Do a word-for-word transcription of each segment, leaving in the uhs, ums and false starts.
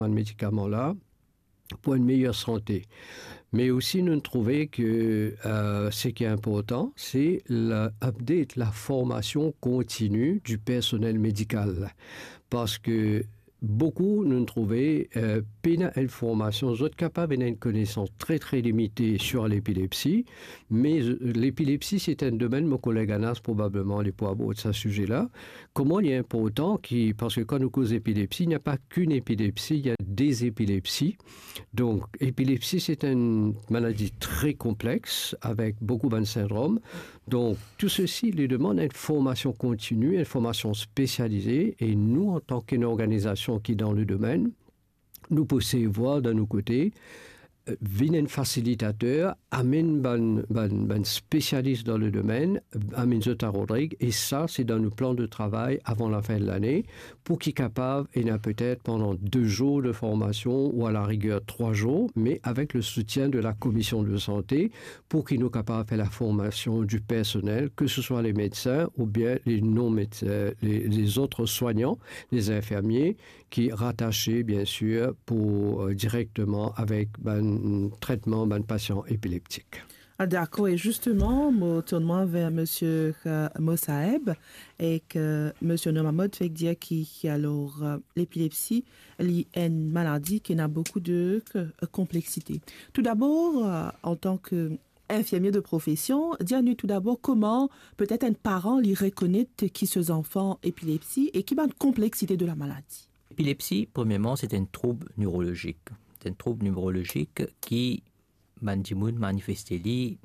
bann medikaman la pou enn meyer sante. Me osi, nou trouve ke, eh, seki inportan, se la update, la formasion kontini di personel medikal. Parski boukou, nou trouve, eh, pena enn formasion, zot kapav ena enn konesans tre, tre limite sir lepilepsi, me, eh, lepilepsi, se enn domenn, mo koleg Anas, probableman, li pou abord sa size la. Kouma li inportan ki, parski kan nou koz epilepsi, napa ki epilepsi, ena de epilepsi. Donk, epilepsi, se enn maladi tre konplex, avek boukou bann sindrom. Donk, tou sesi, li demann enn formasion kontini, enn formasion spesialize, e nou, antan ki enn organizasion ki dan le domenn, nou pou seye vwar dan nou kote, eh, vinn enn fasilitater, amenn bann, bann, bann spesialis dan le domenn, amenn zot a Rodrig, e sa, se dan nou plan de travay avan lafin de lane, pou ki kapav ena petet pandan de zour de formasion ou a la riger trwa zour, me avek le soutien de la Komision de Sante, pou ki nou kapav fer la formasion di personel, ke se swa le medsin oubien le non-medsin, le, lezot swagnan, le zinfermie, ki ratase, biensir, pou, eh, direkteman avek bann tretman bann pasian epileptik. Ah, dakor, e zisteman, mo tourn mwa ver misie, eh, Mosaeb, e ki misie Norma Mott fek dir ki, ki alor, eh, lepilepsi, li enn maladi ki ena boukou de, eh, konpleksite. Toudabor, eh, antan ki infirmie de profesion, dir nou toudabor kouma petet enn paran li rekonet ki so zanfan epilepsi e ki bann konpleksite de la maladi. Epilepsi, premierman, se enn troub neurolozik. Se enn troub neurolozik ki bann dimoun manifeste li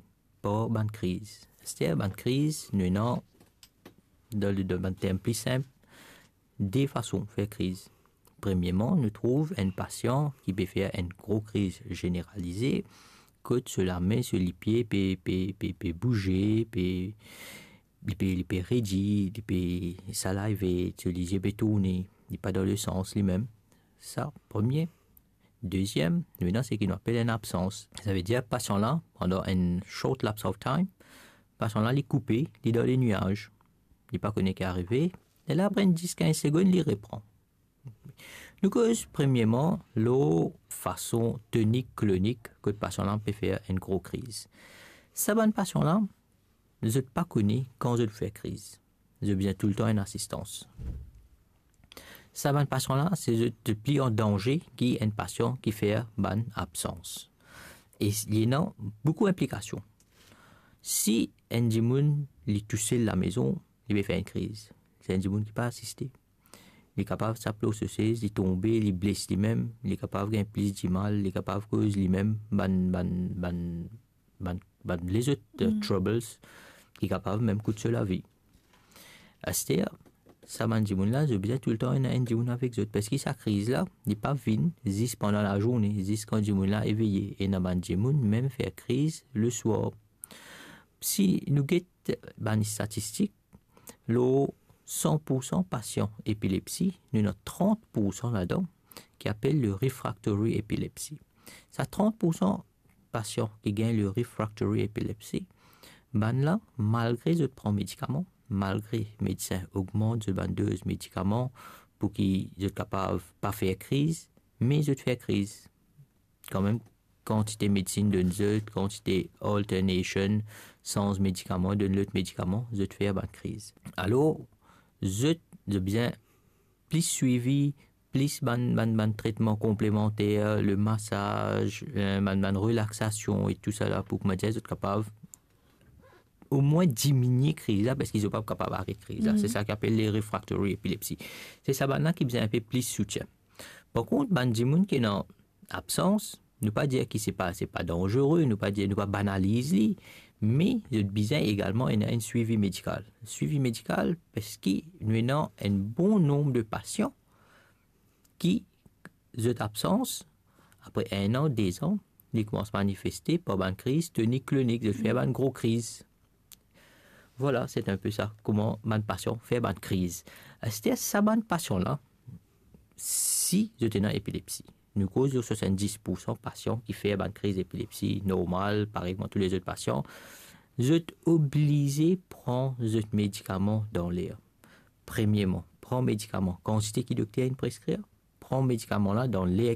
par bann kriz. Aster, bann kriz, nou ena, dan le, dan bann term pli sinp, de fason fer kriz. Premierman, nou trouv enn pasian ki pe fer enn gro kriz zeneralize, kot so lame, so lipie pe, pe, pe, pe bouze, pe, li pe, li pe redi, li pe salive, so lizie pe tourne, li pa dan le sans limem. Sa, premie. Deziem, nou ena seki nou apel enn absans. Savedir pasian la, pandan enn short lapse of time, pasian la, li koupe, li dan le niaz. Li pa kone ki arive, e la, apre enn dis kinz segonn, li repran. Nou koz premierman lor fason tonik klonik kot pasian la pe fer enn gro kriz. Sa bann pasian la, zot pa kone kan zot fer kriz. Zot bizin toultan enn asistans. Sa bann pasian la, se zot pli an danze ki enn pasian ki fer bann absans. E li ena boukou inplikasion. Si enn dimoun, li tousel lamezon, li pe fer enn kriz, se enn dimoun ki pa asiste. Li kapav sap lor so sez, li tonbe, li bles limem, li kapav gagn plis dimal, li kapav koz limem bann, bann, bann, bann, bann lezot, eh, troubles ki kapav mem kout so lavi. Aster, sa bann dimoun la, zot bizin toultan ena enn dimoun avek zot, parski sa kriz la, li pa vinn zis pandan lazourne, zis kan dimoun la eveye. Ena bann dimoun mem fer kriz leswar. Si nou get bann statistik, lor san poursan pasian epilepsi, nou ena trant poursan ladan ki apel le refractory epilepsy. Sa trant poursan pasian ki gagn le refractory epilepsy, bann la, malgre zot pran medikaman, malgre medsin ogmant zot bann doz medikaman pou ki zot kapav pa fer kriz, me zot fer kriz. Kanmem, kantite medsin donn zot, kantite alternation, sanz medikaman, donn lot medikaman, zot fer bann kriz. Alor, zot, zot bizin plis swivi, plis bann, bann, bann tretman konplemanter, le masaz, eh, bann, bann relaksasion e tou sa la, pou kouma dir, zot kapav omwin diminie kriz la, parski zot pa kapav aret kriz la. Se sa ki apel le refractory epilepsy. Se sa bann la ki bizin enpe plis soutien. Par kont, bann dimoun ki ena absans, nou pa dir ki se pa, se pa danzere, nou pa dir, nou pa banaliz li, me zot bizin egalman ena enn swivi medikal. Swivi medikal, parski nou ena enn bon nonb de pasian ki zot absans, apre enn an, de zan, li koumans manifeste par bann kriz tonik klonik, zot fer bann gro kriz. Vwala, se enpe sa, kouma bann pasian fer bann kriz. Aster, sa bann pasian la, si zot ena epilepsi, nou koz lor swasanndis poursan pasian ki fer bann kriz epilepsi normal, parey kouma tou lezot pasian, zot oblize pran zot medikaman dan ler. Premierman, pran medikaman kantite ki dokter inn preskrir, pran medikaman la dan ler